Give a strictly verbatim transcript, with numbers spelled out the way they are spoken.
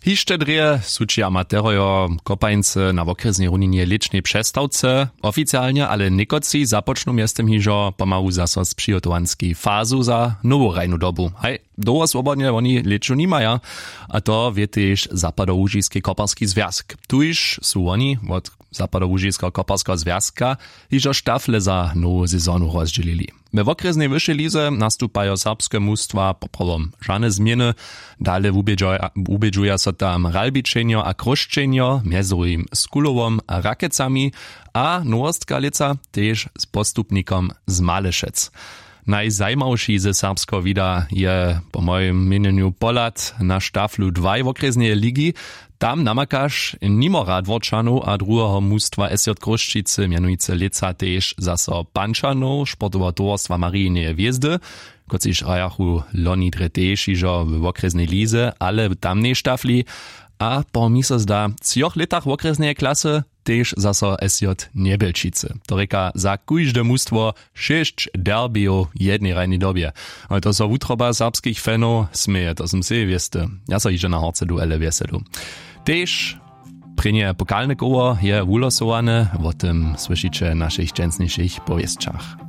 Hišće drje sući amaterojo kopańcy na wokrjesnej runinje lěćnej přestawce. Oficialnje ale někotři započnu mjeztym hižo pomału zaso z přihotowanskej fazu za nowu hrajnu dobu. Haj, dołho swobodnje woni lěću nimaja. A to wě tež zapadołužiski koparski zwjazk, tuž su woni wot zapadołužiskeho koparskeho zwjazka hižo štafle za nowu sezonu rozdźělili. We wokrjesnej wyšej lize nastupajo serbske mustwa poprawom žane změny. Dale wubědźuja so tam ralbičenjo a chróšćenjo mjez druhim z kulowom a rakecami, a nowostka lětsa tež z postupnikom z malešec. Najzajimawši ze serbskeho wida je po mojim měnjenju pohlad na štaflu dwaj wokrjesneje ligi. Tam namakaš nimo radworčanow a druheho mustwa sj chrósćicy mjenujcy lětsa tež zaso pančanow sportoweho towarstwa marijineje hwězdy, kotřiž hrajachu loni drje tež hižo w wokrjesnej lize ale w tamnej štafli. A po mi so zda třoch lětach wokrjesneje klasy tež zaso sj njebjelčicy, to rěka za kóžde mustwo šěsć derbijow w jednej hrajnej dobje. Ale to so wutroba serbskich fanow směje, to sym sej wěsty. Ja so hižo na horce duele wjeselu. Tež prěnje pokalne koło je wulosowane, wo tym słyšiće w našich dźensnišich powěsćach.